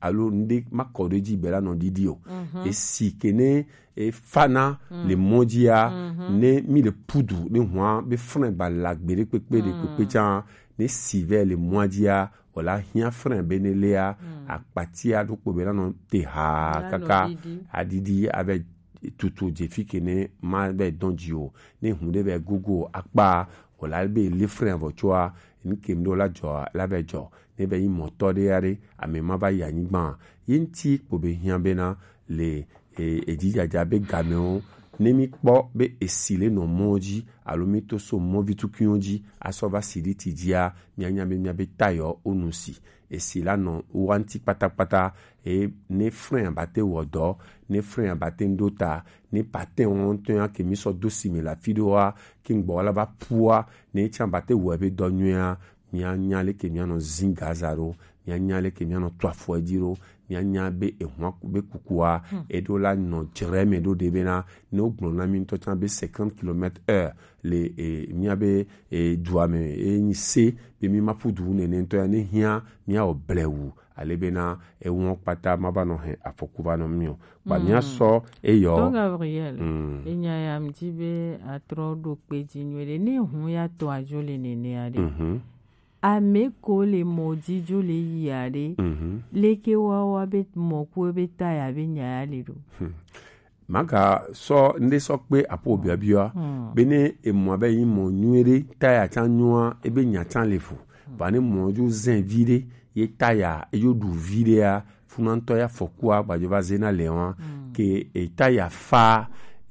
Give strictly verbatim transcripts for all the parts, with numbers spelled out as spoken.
alo nuɖe ma kɔ ɖe dzi be la nɔ ɖiɖi o. Esi ke ne e fana le mɔ dzia, ne mi le pudu ne hua be frein ba la gbe ɖe kpekpe ɖe kpekpe tsa, ne si vɛ le mɔa dzia, wòla hiã frein be ne léa, akpatia ɖokpo be la nɔ te ha kaka aɖiɖi ave tutu dze fi ke ne ma vɛ dɔn dzi o. Ne hu ɖe vɛ gogo akpa, wòla be lé frein vɔ tsoa, nu ke ŋɖo la dzɔ la vɛ dzɔ. Ne vɛ yi mɔtɔ ɖe ya ɖe, ame ma va yi anyigba. Ye ŋti kpo be hiã bena le e, edzidzadza be gamewo, ne mi kpɔ be esi le nɔ mɔ dzi alo mi to so mɔ vitukuiwo dzi asɔ va si ɖi ti dzia, mianya be miabe tayɔ wo nu si esi la nɔ wa ŋti kpatakpata. E, ne frein abate wɔ dɔ, ne frein abate ŋɖo ta, ne patin wɔn ŋutɔ ya ke mi sɔ do si me le afi ɖewoa, ke ŋgbɔ la va pua, ne tsa abate wɔ ebe dɔ nyuia, mianya leke mianɔ zin gaza ɖo, mianya leke mianɔ to afɔ edzi ɖo, mianya be ehua ku- be kukua eɖo la nɔ dzre me ɖo ɖe bena ne wogblɔ na mi ŋutɔ tsã be cinquante kilomètres heure le e, miabe e, dua me e, nyi se be mi ma ƒu du nene ŋutɔ ya ne hiã miawɔ blewu ale bena ewɔ kpata ma va nɔ he afɔku va nɔ mi o. Ba mia sɔ eyɔ. Don Gabriel, enya ya mi di be atrɔ ɖo kpe dzi nyuie ɖe ne hu ya tɔ adzo le nene ya ɖe. Ame ko le mɔ dzi dzo le yi aɖe. Leke wa wa be mɔ ku be ta ya be nya ya le ɖo. Maga sɔ nde sɔ kpe apo biabia. Be ne emɔ be yi mɔ nyuie ɖe ta ya tsa nyua ebe nya tsa le fu. Ba ne mɔ dzo zɛn vi ɖe ye ta ya eyo ɖu vi ɖe ya funa ŋutɔ ya fɔkua gbadzo va zena le wa ke eta ya fa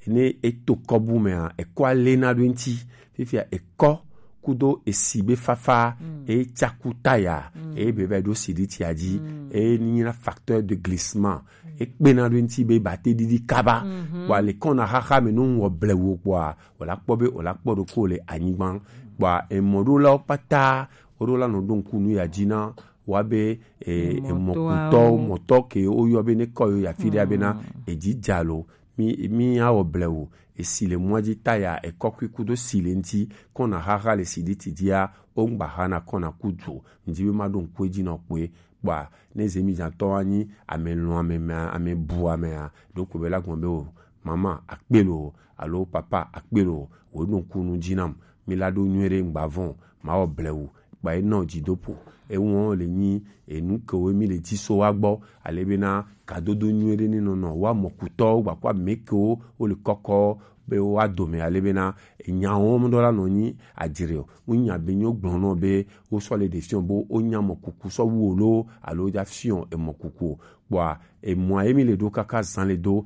ne eto kɔbu mea ekɔ alena ɖo ŋti. Fifia ekɔ kudo esi be fafa e tsaku taya e be va ɖo si ɖi tia dzi e nyina facteur de glissement e kpena ɖo ŋti be bate ɖiɖi kaba. Kpɔa le kɔna xaxa me no ŋwɔ blewu kpɔa wòla kpɔ be wòla kpɔ ɖo ko le anyigba. Kpɔa emɔɖolawo kpata woɖo la nɔ ɖo ŋku nu ya dzi na wa be e, emɔkutɔ mɔtɔ ke woyɔ be ne kɔ yo ya fi ɖe bena edzi dza lo mi mi awɔ blewu esi le mɔa dzi taya ekɔkui kudo si le ŋti kɔna xaxa le si ɖi ti dzia wo ŋgba xana kɔna kudu ŋdi be ma ɖo ŋku edzi nɔ kpoe. Kpɔa ne zemidzatɔ anyi ame lɔn ame mea ame bu amea ɖo ko be la gbɔn be o mama akpe lo alo papa akpe lo wo ɖo ŋku nu dzi nam mi la ɖo nyuie ɖe ŋgba vɔn ma wɔ blewu kpa ye nɔ dzidopo ewɔ le nyi enu kewo mi le dzi so wa gbɔ ale bena kadodo nyuie ɖe ne nɔnɔ wa mɔkutɔwo gbakɔ ame kewo wo le kɔkɔ be wa dome ale bena enya wɔm ɖo la nɔ nyi adzre o ŋu nya be nyo gblɔ nɔ be wo sɔ le ɖe fiɔ bo wo nya mɔkuku sɔ wu o lo alo ja fiɔ emɔkuku o. Kpɔa emɔa ye mi le ɖo kaka zan le do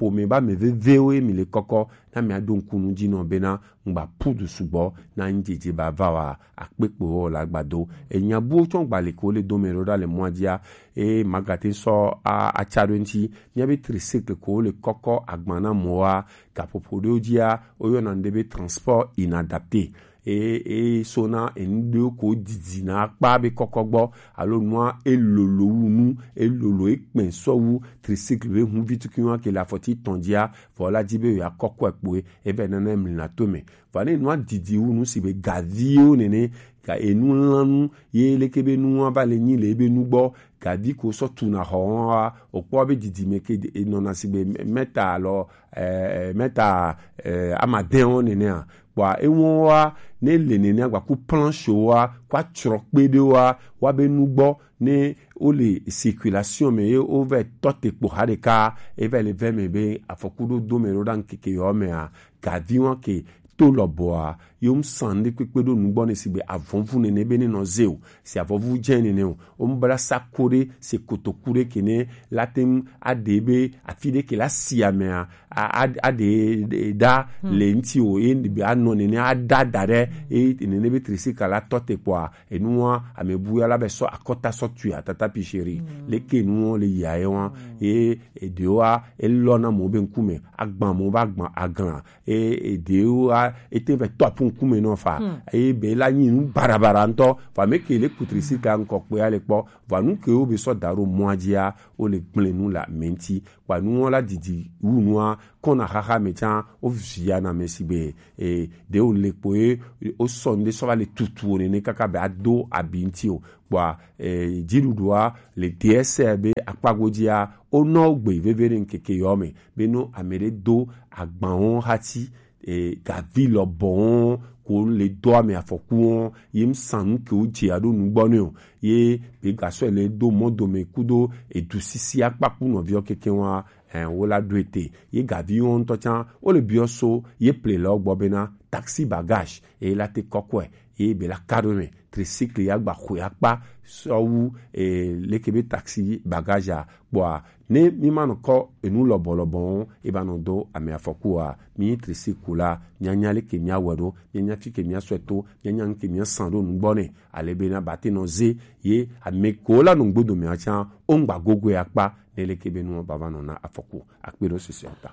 ƒome ba me vevewo ye mi le kɔkɔ na mi aɖo ŋku nu dzi nɔ bena ŋgba pudu sugbɔ na ŋdzedze ba va wa akpekpe wɔ la gbado enya buwo tsɔ gba le ko le dome ɖo ɖa le mɔa dzia e magate sɔ a atsa ɖo ŋti mia be tricycle ko le kɔkɔ agba na mɔ wa gaƒoƒo ɖewo dzia woyɔna ŋɖe be transport inadapté e e sona enu ɖewo ko didi na akpa be kɔkɔ gbɔ alo nua elolo wu nu elolo ekpɛ sɔ wu tricycle be hu vituki wa ke le afɔti tɔn dzia vɔ la di be ya kɔkɔ ekpoe ebe nana emli na to me vɔ ne nua didi wu nu si be gaviwo nene ga enu lanu ye leke be nua va le nyi le ebe nu gbɔ gavi ko sɔ tuna xɔ wa okpɔ be didi me ke enɔna si be mɛta alɔ ɛɛ mɛta ɛɛ amadɛn wo nenea kpɔa ewɔn wa ne le nenea gbaku planche wa kó atsrɔ kpe ɖe wa wa be nugbɔ ne wo le circulation me ye wo vɛ tɔ te kpo ha ɖeka e vɛ le vɛ me be afɔku ɖo do me ɖo ɖa ŋkeke yɔ mea gavi wa ke to lɔbɔa ye wo san ɖe kpekpe ɖo nugbɔ ne si be avɔvu nene be ne nɔ ze o si avɔvu dze nene o Wo mu bla sa ko ɖe se kotoku ɖe ke ne la te ŋu aɖe be afi ɖe ke la si amea a- a- aɖe ɖa le ŋti o ye be anɔ nene ada da ɖe ye nene be tresika la tɔ te kpɔa enua ame bu ya la be sɔ akɔta sɔ tui atata pisheri leke nuwo le yia ye wa ye eɖewoa elɔ na mo be ŋkume agba mo ba agba agla e eɖewoa ete vɛ tɔ apu ŋkume nɔ fa. Eye be la nyi nu barabara ŋutɔ. Vɔ ame ke le kutri si ka ŋkɔ kpe ale kpɔ. Vɔ nu ke wo be sɔ da ɖo mɔa dzia, wo le gblẽ nu le ame ŋuti. Kpa nuwo la didi wu nua kɔna xaxa me tsã, wo via na ame si be e ɖe wo le kpo ye wo sɔ ŋɖe sɔ va le tutu wo nene kaka be ado abi ŋuti o. Kpɔa e dziɖuɖua le D S R be akpa godzia, wonɔ gbe veve ɖe ŋkeke yɔ me be no ame ɖe do agbawo hati e gavi lɔbɔwo ko le dɔ ame afɔkuwo ye ŋsan nu ke wo dze aɖo nugbɔ ne o ye be gasɔ le do mɔdome kudo edu sisi akpaku nɔviɔ keke wa. Ɛ wo la ɖo ete ye gaviwo ŋutɔ tsã wo le biɔ so ye ple le wo gbɔ bena taxi bagage ye la te kɔkɔe ye be la ka ɖo me tricycle ya gba xɔe akpa sɔwu e leke be taxi bagage a kpɔa ne mi ma nɔ kɔ enu lɔbɔlɔbɔ ŋu e ba nɔ do ame afɔku a mi tricycle la mianya leke mia wɛ ɖo mianya fi ke mia sɔe to mianya nu ke mia san ɖo nugbɔ ne ale bena ba te nɔ ze ye ame ko la nɔ gbodo mea tsã wo ŋgba gogoe akpa ne leke be nua ba va nɔ na afɔku akpe ɖo sese ta.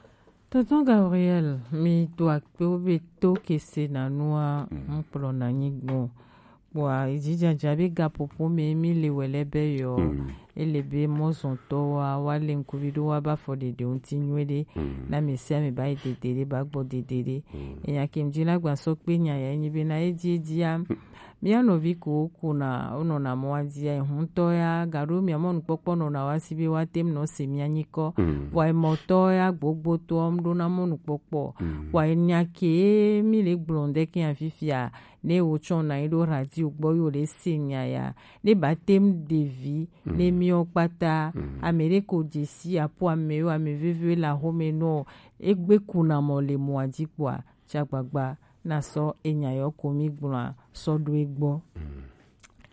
Tonton Gabriel, mi to akpe wo be to kese na nua ŋkplɔ na nyi gbɔ. Kpɔa edzidzadza be gaƒoƒo me mi le wɛ lɛ be yɔ ele be mɔzɔntɔ wa wa le ŋkuvi ɖo wa ba fɔ ɖeɖe ŋuti nyuie ɖe na me sia me ba yi dede ɖe ba gbɔ dede ɖe enya ke ŋdi la gba sɔ kpe nya ya nyi be na edzi edzia mía nɔvi ko wokuna wonɔna mɔa dzia ehuntɔ ya gaɖo mia mɔnukpɔkpɔ nɔna wa si be woate ŋu nɔ se mia nyikɔ vɔa emɔtɔ ya gbogbotoɔ ŋɖona mɔnukpɔkpɔ vɔa enya ke mi le gblɔ ŋɖe ke ya fifia ne wotsɔ na yi ɖo radio gbɔ yo le se nya ya ne ba tem ɖevi ne miɔ kpata ame ɖe ko dzesi apo ame yo ame vevi la home nɔ egbe kuna mɔ le mɔa dzi kpɔa tsagbagba na sɔ enya yɔ ko mi gblɔa sɔ ɖo egbɔ.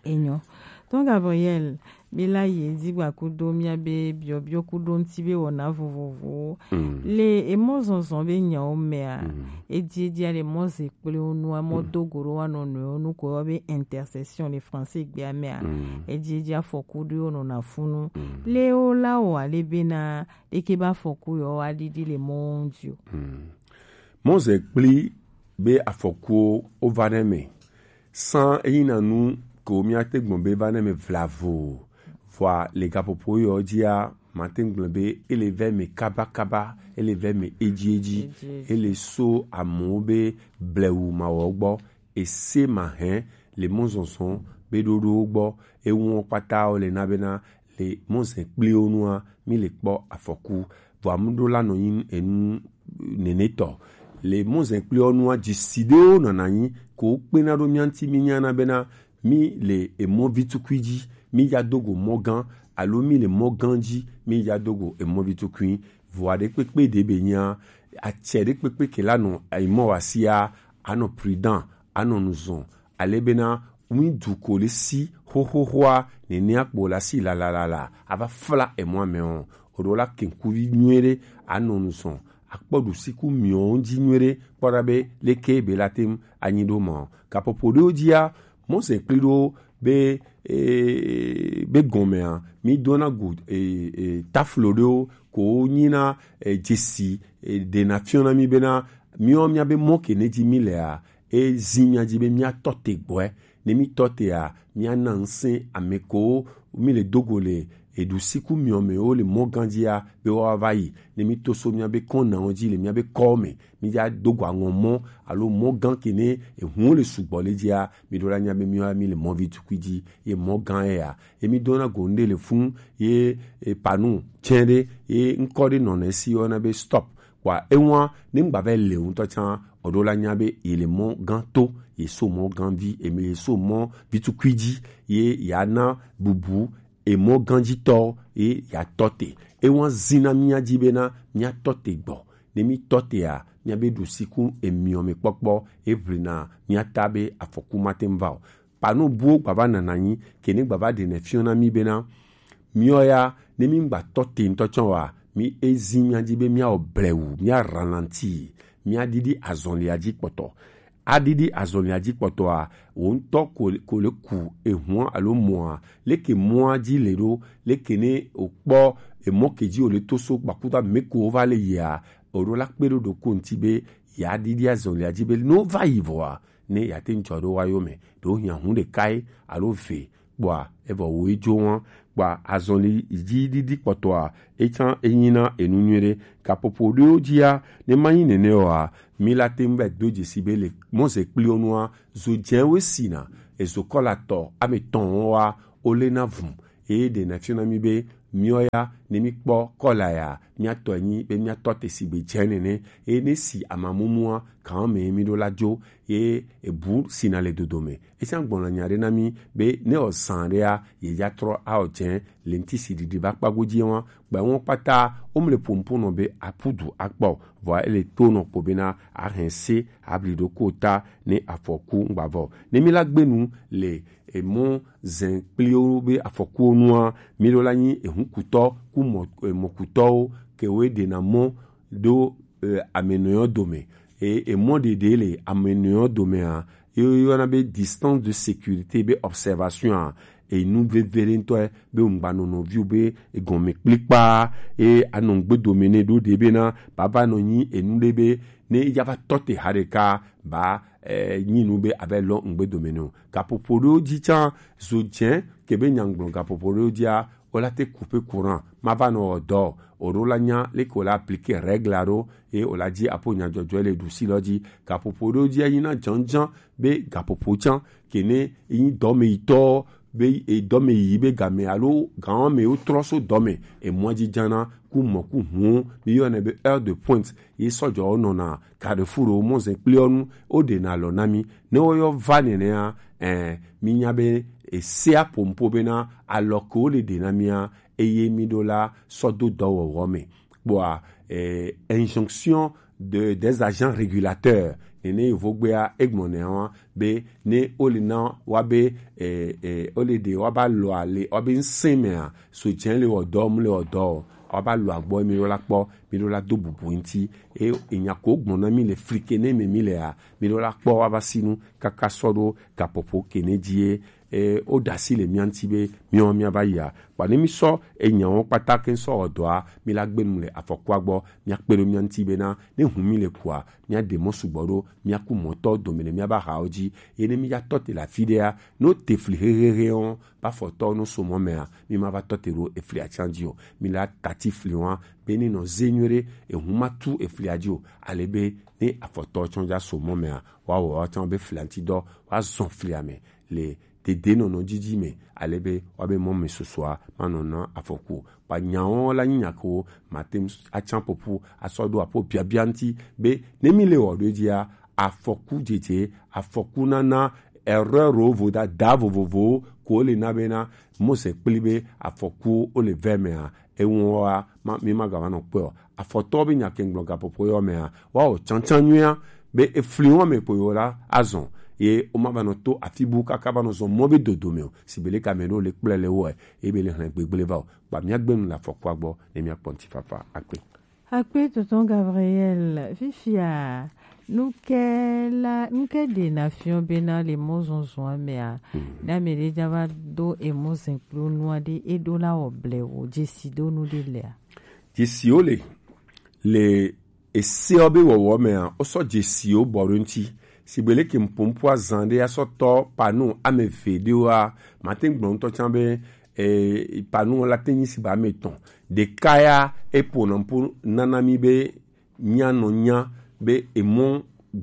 Enyo. Tɔn Gabriel, mi la yi edzi gba kudo mia be biɔbiɔ kudo ŋuti be wɔna vovovowo. Le emɔ zɔzɔ be nyawo mea, edzi edzi ale mɔ ze kple wo nua mɔ do go ɖo wa nɔ nɔewo nu ko yɔ be intercession le français gbea mea. Edzi edzi afɔku ɖo wo nɔna funu. Le wo la wɔ ale bena eke be afɔku yɔ wa ɖiɖi le mɔ ŋuti o. Mɔze kpli be afɔkuwo wova ɖe eme. San eyi na nu ko míate gblɔ be va ɖe eme vlavo o. Vɔa le gaƒoƒo yɔ dzia, mate ŋu gblɔ be ele va eme kabakaba, ele va eme edziedzi, ele so amewo be blewu mawɔ gbɔ, ese mahɛ le mɔzɔzɔ be ɖoɖowo gbɔ, ewo kpata wo le na bena le mɔzɛ kpli wo nua mi le kpɔ afɔku vɔa mu ɖo la nɔ nyi enu nenetɔ le mɔzɛ kpli wo nua dzisi ɖewo nɔna nyi ko kpena ɖo mia ŋuti mi nyana bena mi le emɔ vitukui dzi mi ya dogo mɔ gã alo mi le mɔ gã dzi mi ya dogo emɔ vitukui vɔa ɖe kpekpe ɖe be nya atsɛ ɖe kpekpe ke la nɔ emɔ wa sia anɔ prudent anɔ nuzɔn ale bena ŋui du ko le si xoxoxoa nene akpo la si lalalala ava fla emɔ ame o oɖo la kenkuvi nyuie ɖe anɔ nu sɔn akpɔ ɖusiku miɔ ŋdzi nyuie ɖe kpɔ ɖa be leke be la tem anyi ɖo ma o gaƒoƒo ɖewo dzia mɔse kpli ɖo be ee, be gɔmea mi dona go ee, ee, taflo ɖewo ko nyina ee, dzesi ee, ɖena fiɔna mi bena miɔ miabe mɔ ke ne dzi mi lea ezi mia dzi be mia tɔ te gbɔe ne mi tɔ tea mia na ŋsẽ ame ko mi le dogo le eɖusiku miɔ me wo le mɔ gã dzia be woava va yi ne mi to so miabe kɔnawo dzi le miabe kɔwo me mi dza dogo aŋɔ mɔ alo mɔ gã ke ne ehuwo le sugbɔ le dzia mi ɖo la nya be miwa mi le mɔ vi tukui dzi ye mɔ gã ye ya ye mi dona go ŋɖe le funu ye epanu tsɛ ɖe ye ŋkɔ ɖe nɔna esi yɔna be stop kpɔa ewa ne ŋgba va le ŋutɔ tsã oɖo la nya be ye le mɔ gã to ye so mɔ gã vi eme ye so mɔ vitukui dzi ye ya na bubu emɔ gã dzi tɔ ye ya tɔ te ewa zina mia dzi bena mia tɔ te gbɔ ne mi tɔ tea mia be ɖusiku emiɔ me kpɔkpɔ eʋlina mia ta be afɔku ma te ŋu va o panu buwo gbava nana nyi ke ne gbava ɖe ne fiɔ na mi bena miɔ ya ne mi ŋgba tɔ te ŋutɔ tsã wa mi ezi mia dzi be mia wɔ blewu mia ralanti mia ɖiɖi azɔlia dzi kpɔtɔ aɖiɖi azɔlia dzi kpɔtɔa wo ŋutɔ ko le ku ehua alo mɔa leke mɔa dzi le ɖo leke ne o kpɔ emɔ ke dzi o le to so gbakuta me ko wo va le yia o ɖo la kpe ɖo ɖo ko ŋuti be ya ɖiɖi azɔlia dzi be ne wova yi vɔa, ne yeate ŋu dzɔ ɖo woayo me, ɖewo hiã hũ ɖeka ye alo ve, kpɔa evɔ wo edzo wɔn. Kpɔa azɔli dzi ɖiɖi kpɔtɔa, etsã enyina enu nyuiɖe. Gaƒoƒo ɖewo dzia, ne manyi nene oa, mi la te ŋu va do dzesi be le mɔzekpliwo nua, zo dzɛwo sina, ezo kɔla tɔ ame tɔn wa, wolena vum. Eye ɖe na fiɔna mi be miɔ ya, ne mi kpɔ kɔla ya, miatɔ nyi be miatɔ te sigbe dze nene. Eye ne si amamumua, kan me mi ɖo la dzo, ye ebu sina le dodo me. Esia gbɔna nya ɖe na mi be ne ɔzan ɖea, ye ya trɔ aɔ dze le ŋti si ɖiɖi va kpa godzi wa. Gba wɔn kpata, wo mle pompo nɔ be apudu akpɔ, vɔ ele to nɔ kpo bena ahɛn se abli ɖo ko ta ne afɔku ŋgbavɔ. Ne mi la gbenu le emɔ zɛn kpliwo be afɔkuwo nua, mi ɖo la nyi ehunkutɔ ku mɔ, emɔkutɔwo ke wo ɖena mɔ ɖo, eh, amenɔewo dome. E, emɔ ɖeɖe le amenɔewo domea, ye woyɔna be distance de sécurité be observation a, enu veve ɖe ŋutɔ ye be ŋgba nɔ nɔviwo be egɔme kplikpa, ye anɔ ŋgbe dome ne ɖo ɖe bena baba nɔ nyi enu ɖe be ne ya va tɔ te ha ɖeka ba, eh, nyi nu be ava lɔ ŋgbe dome ne o. Gaƒoƒo ɖewo dzi tsã, zo dze ke be nyagblɔ gaƒoƒo ɖewo dzia, o la te couper courant, ma va nɔ wɔ dɔ o. O ɖo la nya leke o la appliquer règle aɖo, ye o la dzi apo nyadzɔdzɔ le ɖusi lɔ dzi. Gaƒoƒo ɖewo dzi anyina dzɔndzɔn be gaƒoƒo tsã ke ne yi dɔmeyitɔ be, e, dɔmeyiyi be game alo gan me wo trɔ so dɔme, emɔ dzi dzana ku mɔ ku hũ, mi yɔnɛ be heure de pointe, ye sɔdzɔwo nɔna carrefour wo mɔzɛn kpliwo nu, wo ɖena alɔ na mi. Ne wo yɔ va nenea, eh, mi nya be esea pompo bena alɔ ke wo le ɖe na mia, eye mi ɖo la sɔ do dɔwɔwɔ me. Kpɔa, eh, injonction de, des agents régulateurs, nene yovogbea egblɔ nɛ wa be ne wo le na wa be, eh, eh, wo le ɖe wa ba lɔ ale wa be ŋsɛ mea, so dze le wɔ dɔ, mu le wɔ dɔ o, wa ba lɔ agbɔ mi ɖo la kpɔ, mi ɖo la do bubu ŋti. E, enya ko gbɔn na mi le flike ne me mi le a, mi ɖo la kpɔ wa ba sinu kaka sɔ ɖo gaƒoƒo ke ne dzi ye, e, wo ɖe asi le mia ŋti be miɔ mia va yia. Kpa ne mi sɔ enyawo kpata ke sɔ wɔ dɔa, mi la gbe nu le afɔkua gbɔ, mia kpe ɖo mia ŋti bena ne hu mi le kua, mia ɖe mɔ sugbɔ ɖo, mia ku mɔtɔ dome le mia ba hawo dzi. Ye ne mi ya tɔ te le afi ɖea, no te fli hehehe o, ba fɔtɔ no so mɔ mea, mi ma va tɔ te ɖo efli atsan dzi o. Mi la tati fli wa, be ni nɔ ze nyuie ɖe, ehu ma tu efli adzi o. Ale be ne afɔtɔ tsɔ ja so mɔ mea, wa wɔ wa tsɔ be fli ŋti dɔ, wa zɔn fli ame le dede nɔnɔ dzidzi me, ale be wa be mɔ me sosoa ma nɔ na afɔku o. Kpa nyawo la nyi nya ko ma te ŋu atsan popo asɔ ɖo apo biabia ŋti be ne mi le wɔ ɖo dzia, afɔku dzedze, afɔku nana, erreur wo voda da vovovowo ko le na bena mose kpli be afɔku wo le vɛ mea, ewɔn wa ma, mi ma ga va nɔ kpɔe o. Afɔtɔ be nya ke ŋgblɔ gaƒoƒo yɔ mea, wa o tsantsan nyuia be efli wɔn me kpo yɔ la azɔn ye o ma va nɔ to afi bu kaka va nɔ zɔn mɔ be dodo me o. Si be le ka me ɖo le kple le wɔ ye be le hlɛn gbegble va o. Kpa mia gbe nu le afɔkua gbɔ ne mia kpɔ ŋti fafa akpe. Akpe tonton Gabriel, fifia, nuke la, nuke ɖe na fiɔ bena le mɔzɔzɔa mea, na me ɖe ja va do emɔ zɛn kplo nua ɖe, e ɖo la wɔ ble wo, dzesi do nu ɖe lea? Dzesiwo le, le eseɔ be wɔwɔ mea, o sɔ dzesiwo bɔ ɖo ŋti. Sigbe leke mpompo azan ɖe asɔ tɔ panu ame ve ɖewoa, mate ŋgblɔ ŋutɔ tsã be, eh, panu la te nyi sigba ame etɔn. Ɖeka ya, epo nɔ ŋpo nana mi be mia nɔ nya be emɔ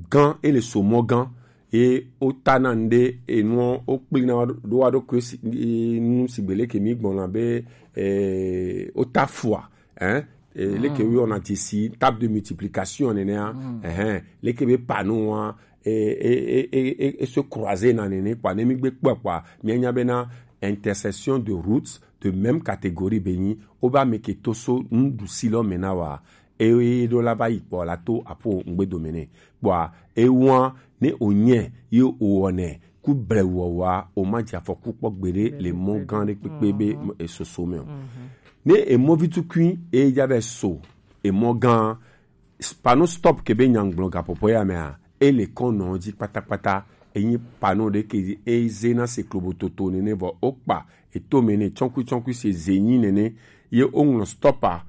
gã, ele so mɔ gã. Ye o ta na ŋɖe, enuɔ, o kpli na ɖo wa ɖo kue si, e, nu sigbe leke mi gbɔna be, eh, o ta fua, hein? Eh, leke wi ona dzesi table de multiplication nenea, eh, leke be panu wa, eh, eh, eh, eh, eh, eh, se croiser na nene, kpa ne mi gbe kpɔ kpa, mi nya bena intersection de routes de même catégorie be nyi, o ba me ke to so nuɖusi lɔ me na wa, e ɖo la va yi kpɔ la to apo ŋgbe dome ne. Kpɔa, e wa ne o nye, ye o wɔne, ku ble wɔwa, o ma dze afɔku kpɔ gbeɖe le mɔ gã ɖe kpekpe be esoso me o. Ne emɔ vi tukui e ja be so emɔ gã, pano stop ke be nyagblɔ gaƒoƒo ya mea, e le kɔn nɔ dzi kpatakpata. Enyi pano ɖe ke e ze na se klobo toto nene vɔ o kpa eto me ne tsɔkui tsɔkui se ze nyi nene ye o ŋlɔ stop a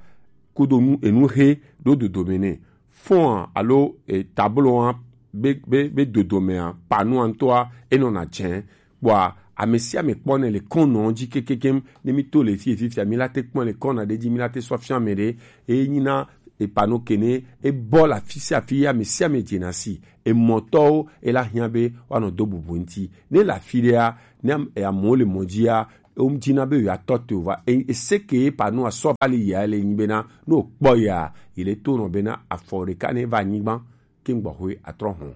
kudo nu enu he ɖo dodo me ne. fɔn alo e tablo be be be dodome a panu antɔa enɔna jɛn. Kpɔa ame sia ame kpɔ ne le kɔn nɔ dzi kekekem ne mi to le fi fifia mi la te kpɔ le kɔn na ɖe dzi mi la te sɔ fia me ɖe. E nyina e panu kene e bɔ la fi sia fi ame sia ame dze na si e mɔtɔwo e la hiã be wa nɔ do bubu ŋti ne la fi ɖe a ne am- e amewo le mɔ dzi a ewo dzi na be yewoatɔ te o va e- eseke ye panu asɔ va le yia le nyi bena ne wokpɔ yia yi le to nɔ bena afɔ ɖeka ne va anyigba ke gbɔxwe atrɔ hɔn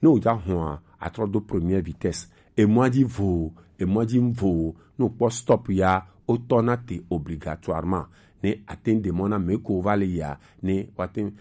ne wòdza hɔn a atrɔ do première vitesse emɔa dzi vo emɔa dzi vo ne wokpɔ stop ya wotɔ na te obligatoirement ne ate ŋu ɖe mɔ na me ko va le yia ne woate ŋu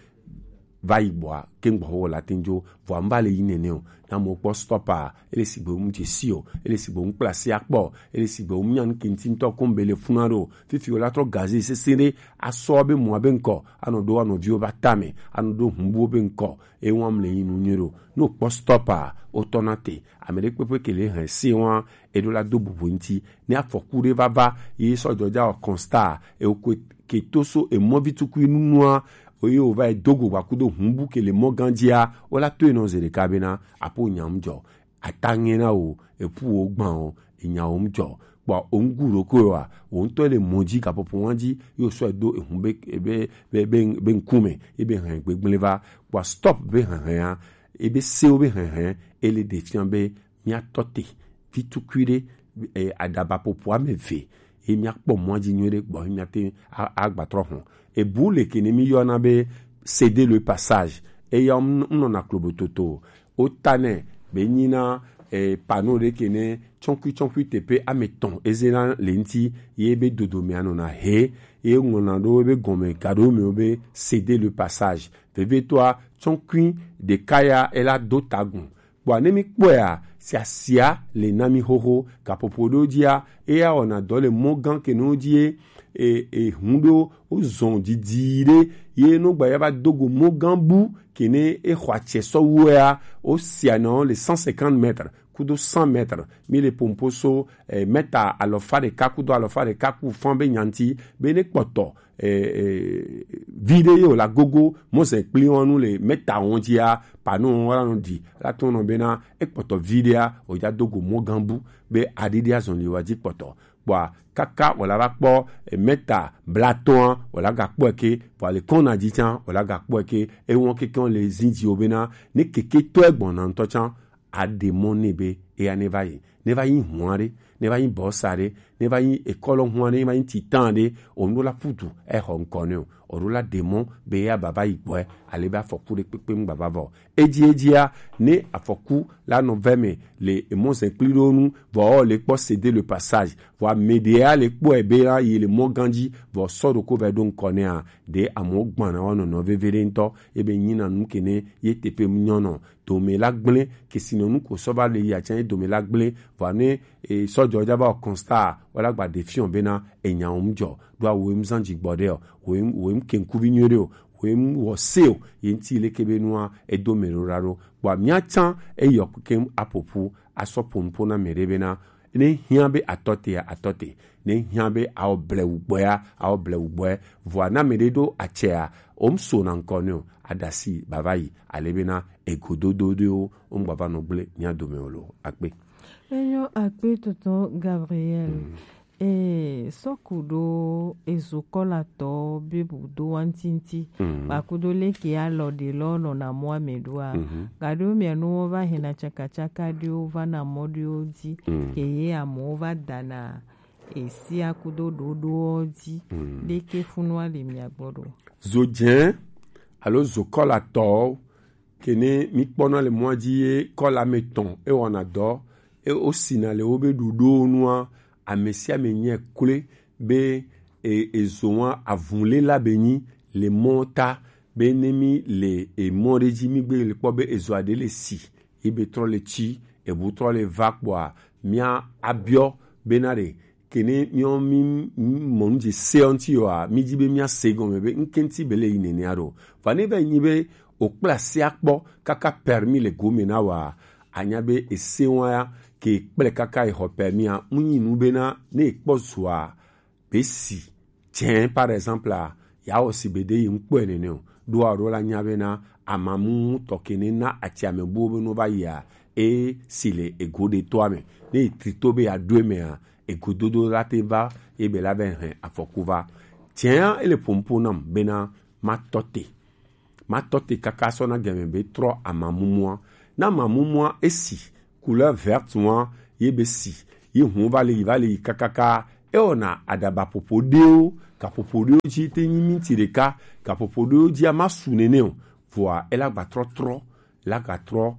va yi gbɔa ke gbɔxwe wɔ la te ŋu dzo vɔa ŋu va le yi nene o na mo kpɔ stop a ele sigbe ŋu dze si o ele sigbe ŋu kpla si akpɔ ele sigbe ŋu nya nu ke ŋuti ŋutɔ ko ŋu be le funa ɖo fifi wɔ la trɔ gaze sese ɖe asɔ be mɔa be ŋkɔ anɔ ɖo anɔ viwo va tame anɔ ɖo hubuwo be ŋkɔ eye wɔm le yi nu nyuie ɖo ne wokpɔ stop a wotɔ na te ame ɖe kpekpe ke le hɛn se wɔn eɖo la do bubu ŋuti ne afɔku ɖe va va ye sɔ dzɔdza wɔ constat ewo ko ke to so emɔvi tukui nunua eye wova yi do go gbakudo hubu ke le mɔ gã dzia wola to enɔ ze ɖeka bena apo nyam dzɔ ataŋe na wo epu wo gbã wo enya wo ŋdzɔ kpɔ wo ŋgu ɖo ko wa wo ŋutɔ le mɔ dzi gaƒoƒo wa dzi yo sɔ do ehu be be be be be ŋkume ebe hɛn gbegblẽ va kpɔ stop be hɛhɛa ebe sewo be hɛhɛ ele ɖe fia be míatɔ te vi tukui ɖe e, aɖaba ƒoƒo ame eve ye míakpɔ mɔa dzi nyuie ɖe gbɔ ye míate agbatrɔ hɔn ebu le ke ne míyɔna be céder le passage eya ŋnɔna klobototo o wota nɛ be nyina e, pano ɖe ke ne tsɔnkui tsɔnkui teƒe ame etɔ̃ ezena le ŋti ye be dodomea nɔna he ye ŋlɔna ɖo be gɔme gaɖo mewo be céder le passage vevietɔa tsɔnkui ɖeka ya ela do tagun kpɔa ne mi kpɔea siasia le na mi xoxo gaƒoƒo ɖewo dzia eya wɔna dɔ le mɔ gã ke no dzi e e hun ɖo wo zɔn didi ɖe ye no gba ya va do go mɔ gã bu ke ne e xɔ atsɛ sɔ wua wo sia na wo le cent cinquante mètres kudo cent mètres mi le pompo so e mètre alɔfa ɖeka kudo alɔfa ɖeka ku fan be nyanti be ne kpɔtɔ e, e, vi ɖe ye wòle agogo mɔzɛ kpli wɔn nu le mɛta wɔn dzia panu wɔn la nɔ di la to nɔ bena ekpɔtɔ vi ɖea wòdza do go mɔ gã bu be aɖiɖi azɔn li wa dzi kpɔtɔ kpɔa kaka wòle va kpɔ e, mɛta blatɔa wòle aga kpɔe ke vɔ ali kɔn na dzi tsã wòle aga kpɔe ke ewɔn keke le zi dzi wo bena ne keke tɔe gbɔna ŋutɔ tsã aɖe mɔ nɛ be eya ne va yi ne va yi hua ɖe ne va yi bɔsa ɖe ne va yi ekɔlɔ hua ɖe ne va yi titan ɖe onu la putu exɔ ŋkɔ ne o oɖo la ɖe mɔ be eya baba yi gbɔe ale be afɔku ɖe kpekpe ŋu baba vɔ edzi edzia ne afɔku la nɔ vɛ me le emɔzɛ kpli ɖo nu vɔ le kpɔ céder le passage vɔ ame ɖea le kpɔe be la yi le mɔ gã dzi vɔ sɔ ɖo ko vɛ ɖo ŋkɔ nɛa ɖe amewo gbana wa nɔnɔ veve ɖe ŋutɔ ebe nyina nu ke ne ye teƒe nyɔnɔ dome la gblẽ kesinɔnu ko sɔ va le yi atsã ye dome la gblẽ vɔa ne e, sɔ dzɔ dza va wɔ constat wala gba ɖe fiɔ bena enya wo mu dzɔ ɖo awo mu zan dzi gbɔ ɖe o wo mu wo mu ke ŋkuvi nyuie ɖe o wo mu wɔ se o ye ŋti leke be nua edo me ɖo ɖa ɖo kpɔ mia tsã eyɔ ke aƒoƒu asɔ ƒo nuƒo na me ɖe bena ne hiã be atɔ te atɔ te ne hiã be awɔ blewu gbɔea awɔ blewu gbɔe vɔa na me ɖe ɖo atsɛa wo mu so na ŋkɔ ne o aɖasi bava yi ale bena egododo ɖewo wo mu gbava nɔ gblẽ mia dome o lo akpe. Enyo akpe tonton Gabriel. Mm. Ee, sɔku ɖo ezokɔlatɔ be bu do wa ŋti ŋti. Mm. Kpakudo leke alɔ ɖe lɔ nɔna mɔ ame ɖoa. Mm-hmm. Gaɖo mia nu wo va hena tsakatsaka ɖewo va na mɔ ɖewo dzi. Mm. Ke ye amewo va dana esia kudo ɖoɖowo dzi. Mm. Leke funua le mia gbɔ ɖo. Zo dzẽ alo zokɔlatɔwo ke ne mi kpɔna le mɔa dzi ye kɔla me tɔn e wɔna dɔ e o sina le wo be ɖuɖo nua ame sia ame nyɛ kle be e ezo wa avun le la be nyi le mɔ ta be ne mi le emɔ ɖe dzi mi gbe le kpɔ be ezo aɖe le si ye be trɔ le tsi ebu trɔ le va kpɔa mia abiɔ bena ɖe kene miɔ mi mɔ nu dze se ɔnti yɔa mi dzi be mia se gɔme be ŋke ŋti be le yi nenea ɖo va ne va nyi be o kpla se akpɔ kaka permis le gome na wa anya be ese wa ya ke kple kaka exɔ permis a ŋu nyi nu bena ne ekpɔ zua be si tsɛ par exemple a ya wɔ si be ɖe yi ŋkpɔe nene o ɖoa ɖo la nya bena amamu tɔ ke ne na ati ame buwo be no va yia, e si le ego ɖe toa me. Ne e tri to be ya ɖo eme a, egododo la te va, ye be la be hɛn afɔku va. Tiɛa ele pompo nam bena ma tɔ te. Ma tɔ te kaka sɔ na gɛmɛ be trɔ amamumua. Na amamumua e si, couleur verte wa, ye be si, ye hun va le yi, va le yi kakaka. E wɔna aɖaba popo ɖewo, gaƒoƒo ɖewo dzi te nyi minti ɖeka, gaƒoƒo ɖewo dzia ma su nene o. Vɔa e la gba trɔ trɔ, la ga trɔ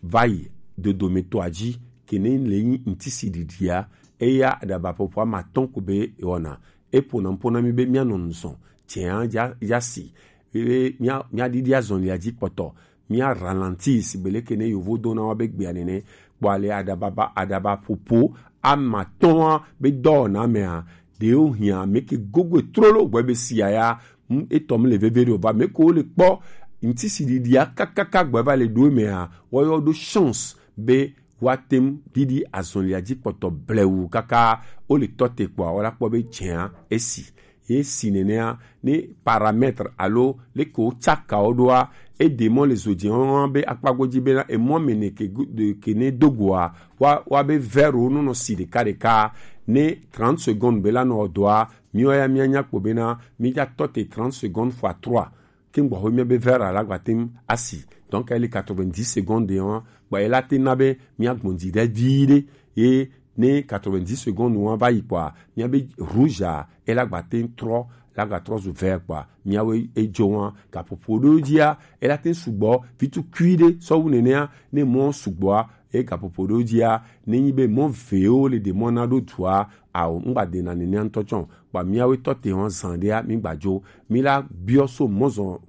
va yi dodometɔa dzi, ke ne le nyi ŋtisiɖiɖia, eya aɖaba popo ama tɔn ko be e wɔna. E pona pona mi be mia nɔ nuzɔn, tiɛa ya, ya si. Be mia, mia ɖiɖi azɔlia dzi kpɔtɔ, mia ralentir, beleke ne yovo dona wa be gbea nene. Kpɔ ale aɖaba ba, aɖaba popo ama tɔn wa be dɔwɔna mea, ɖewo hia me ke gogo trolo gbɔ be sia ya, mm, etɔ mi le veve ɖo va me ko le kpɔ ŋtisiɖiɖia kakaka gbɔ va le ɖo mea, wɔyɔ ɖo chance be woate ŋu ɖiɖi azɔlia dzi kpɔtɔ blewu kaka wole tɔ te kpɔa, wola kpɔ be dzea esi. Ye si nenea, ne paramètre alo leke wotsaka wo ɖoa, eɖe mɔ le zo dze wɔn be akpa godzi bena emɔ me ne ke gu-, de-, ke ne do goa, wa, wa be verre wo nɔnɔ si ɖeka ɖeka, ne trente secondes be la nɔ dɔa, miwo ya mianya kpo bena mi dza tɔ te trente secondes fois trois. Ke ŋgbɔ xo mia be verre la gba te ŋu asi. Donc, ele quatre-vingt-dix secondes wa, kpɔ ela te na be mia gbɔn dzi ɖe vi ɖe. Ye ne quatre-vingt-dix secondes wa va yi kpɔa, mia be rouge a, ela gba te ŋu trɔ, la ga trɔ zu vert kpɔa, miawo edzo wa, gaƒoƒo ɖewo dzia, ela te ŋu sugbɔ, vitukui ɖe, sɔ wu nenea, ne mɔ sugbɔa, e gaƒoƒo ɖewo dzia, ne nyi be mɔ vewo le ɖe mɔ na ɖo dua, ao, ŋgba dena nenea ŋutɔ tsɔ. Kpɔ miawo tɔ te hɔn zan ɖea, mi gba dzo. Mi la biɔ so mɔzɔn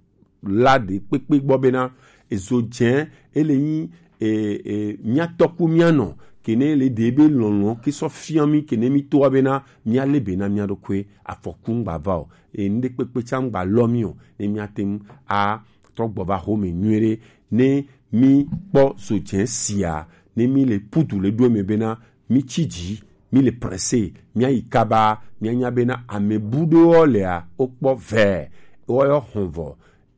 la ɖe kpekpe gbɔ bena, ezo dze, ele nyi, e, e, mia tɔku mia nɔ, kene le ɖe be lɔlɔ ke sɔ fia mi, kene mi toa bena, mia le be na mia ɖokui, afɔku ŋgba va o. E, ŋɖe kpekpe tsa ŋgba lɔ mi o, ne mia te ŋu a trɔ gbɔ va xome nyuie ɖe, ne mi kpɔ zo dze sia, ne mi le pudu le ɖo eme bena, mi tsi dzi, mi le pressé, mia yi kaba, mia nya bena ame bu ɖewo lea, wo kpɔ vɛ, wo yɔ hɔn vɔ.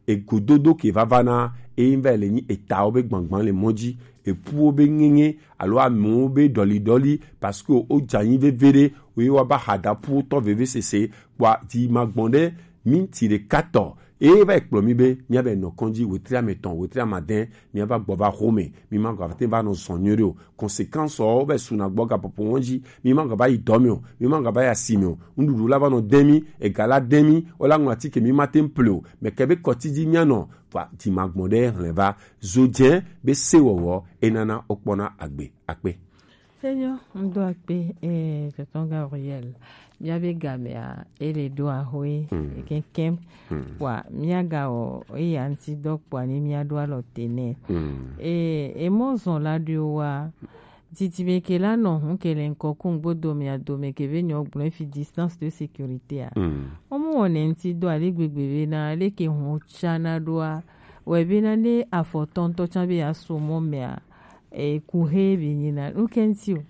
Egododo ke vava na, eyin va le nyi etawo be gbangban le mɔ dzi, epuwo be ŋeŋe, alo amewo be ɖɔli ɖɔli, parce que wo dza nyi veve ɖe, wo ye wa ba hada puwo tɔ veve sese, kpɔa dzi ma gbɔn ɖe, minti ɖeka tɔ, eye va yi kplɔ mi be, mia be nɔ kɔndzi, wetri ame tɔn, wetri ame adɛ, mia va gbɔ va xome, mi ma gba te va nɔ zɔn nyuie ɖe o. Conséquence wo va yi su na gbɔ gaƒoƒo wɔn dzi, mi ma gba va yi dɔ me o, mi ma gba va yi asi me o. Nuɖuɖu la va nɔ dɛn mi, ega la dɛn mi, wo la ŋlɔ atike mi ma te ŋu ple o. Mɛ ke be kɔti dzi mia nɔ, va dzi ma gbɔn ɖe hlɛn va. Zo dze be se wɔwɔ, e nana wo kpɔna agbe, akpe. Enyo, ŋdo akpe, eh, tonton Gabriel. Mia be gamea, ele ɖo ahoe, mm, kekem. Mm. Kpɔa, mia ga wɔ, eya ŋti dɔ kpɔa, ne mia ɖo alɔ te nɛ. Mm. Eh, emɔ zɔn la ɖo wa, titi me ke la nɔ hun ke le ŋkɔ ku ŋgbo dome a dome ke be nyɔ gblɔ fi distance de sécurité a. Mm. Wo mu wɔ ne ŋti dɔ ale gbegbe be na, ale ke hun tsa na ɖo a. Wɛ be na ne afɔ tɔntɔ tsa be ya so mɔ mɛ a. E, ku he be nyina, nu ke ŋti o.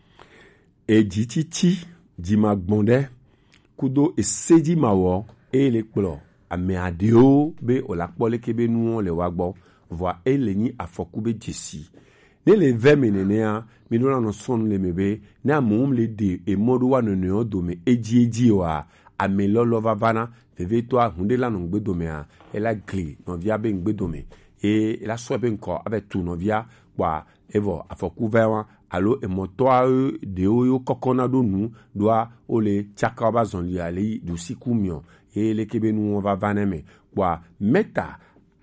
Eji tsitsi, dzi ma gbɔn ɖe, kudo ese dzi ma wɔ, eye le kplɔ ame aɖewo be o la kpɔ leke be nuwo le wa gbɔ, vɔa e le nyi afɔku be dzesi. Ne le vɛ me nenea, mi ɖo la nɔ sɔnu le me be, ne amewo le ɖe emɔ ɖo wa nɔnɔewo dome edzi edzi oa, ame lɔlɔ vava na, vevetɔ ahun ɖe la nɔ ŋgbe dome a, ela gli nɔvia be ŋgbe dome, eye ela sɔ be ŋkɔ ave tu nɔvia, kpɔa evɔ afɔku vɛ wa, alo emɔtɔa ɖewo yo kɔkɔ na ɖo nu ɖoa, wo le tsaka wo ba zɔn li ale yi ɖusi ku miɔ, eye leke be nu wo va va ne me, kpɔa mɛta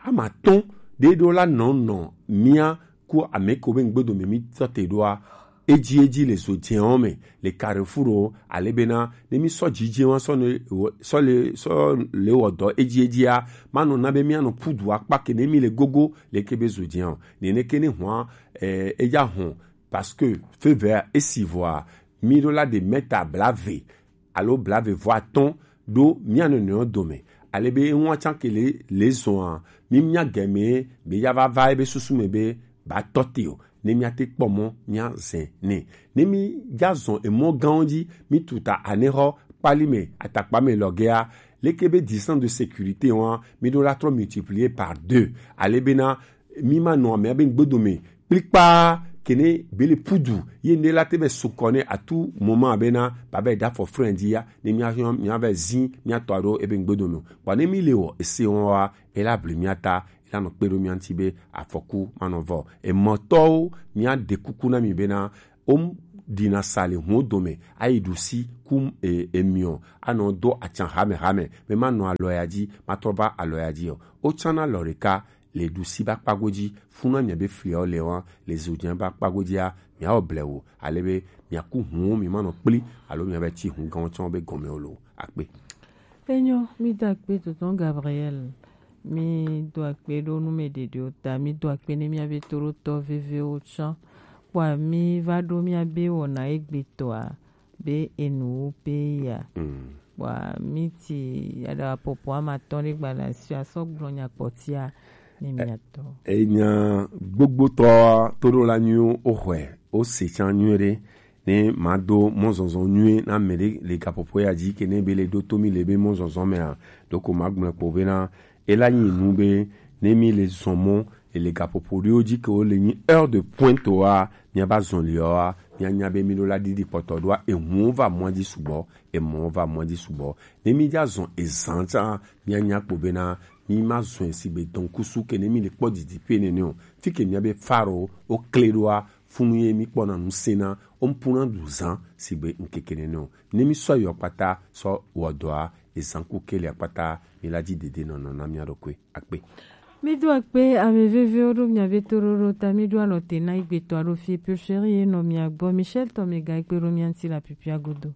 ama tɔn ɖe ɖo la nɔ nɔ mia ku ame ko be ŋgbe dome mi tɔ te ɖoa, edzi edzi le zo dzewo me, le carrefour o, ale bena, ne mi sɔ dzidze wa sɔ ne wɔ-, sɔ le, sɔ le wɔ dɔ edzi edzia, ma nɔ na be mia nɔ pudu akpa ke ne mi le gogo, leke be zo dzewo. Nene ke ne hɔn, eh, edza hɔn, parce que fevea esi vɔa, mi ɖo la de mɛta blave, alo blave vɔ atɔn ɖo mia nɔnɔewo dome. Ale be eŋua tsan ke le, le zɔa, mi mia gɛmɛ, be ya va va ebe susu me be, ba tɔ te o, ne mia te kpɔ mɔ, mia zɛn nɛ. Ne mi dza zɔn emɔ gãwo dzi, mi tuta anexɔ kpali me, atakpa me lɔgɛa, Leke be distance de sécurité wa mi ɖo la trɔ multiplier par deux. Ale bena mi ma nɔ amea be ŋgbedome kplikpa kene bele pudu ye ne la te be sukɔ ne atu moment bena ba be da fɔ frein di ya ne mi a mi a be zin mi a tɔ ɖo ebe ŋgbedome. Bɔ ne mi le wɔ ese wɔn wa ela bli mi ata ela nɔ kpe ɖo mi ŋuti be afɔku ma nɔ vɔ. Emɔtɔwo mi a de kuku na mi bena o ɖina sa le hun dome ayi ɖusi ku e, emiɔ anɔ do atsan hamehame be ma nɔ alɔ ya dzi ma trɔ va alɔ ya dzi o. O tsana lɔ ɖeka le ɖusi ba kpago dzi funa mia be fliawo le wa le zodzi ba kpago dzia mia wɔ blewu ale be mia ku hun mi ma nɔ kpli alo mia be tsi hun gãwo tsɔ be gɔme o lo akpe. Enyo, mi do akpe tonton Gabriel. Mi do akpe ɖo nu me ɖeɖe o ta, mi do akpe ne mia be toɖotɔ vevewo tsã. Kpɔa mi va ɖo mia be wɔna egbetɔa be enu wo pe ya. Kpɔa mi ti aɖa pɔpɔ ama tɔ ne gbana si asɔ gblɔ nya kpɔtia ne mia tɔ. Enya gbogbotɔ toɖo la nyuie o xɔe o se tsã nyuie ɖe. Ne mado mɔzɔzɔ nyuie na mɛ ɖe le gaƒoƒo ya dzi ke ne be le ɖo to mi le be mɔzɔzɔ mea ɖoko magblɔe kpo bena ela nyi nu be ne mi le zɔn mɔ ele gaƒoƒo ɖewo dzi ke wo le nyi heure de pointe wa miaba zɔn liɔ wa mianya be mi ɖo la ɖiɖi kpɔtɔ ɖoa ehuwo va mɔa dzi sugbɔ emɔwo va mɔa dzi sugbɔ ne mi dza zɔn ezan tsa mianya kpo bena mi ma zɔn sigbe dɔnkusu ke ne mi le kpɔ didi pe nene o fi ke mia be faro wo kle ɖoa funu ye mi kpɔna ŋusẽ na wo mpuna du zã sigbe ŋkeke nene o ne mi sɔ yɔ kpata sɔ wɔ dɔa ezã ku kelia kpata mi la dzi dede nɔnɔ na mia ɖokui akpe. Mi do akpe ame vevewo ɖo mia be toɖoɖo ta mi ɖo alɔ te na igbetɔ aɖo fie pio chéri ye nɔ mia gbɔ Michel tɔ mi ga ikpe ɖo mia ŋti la pipia godo.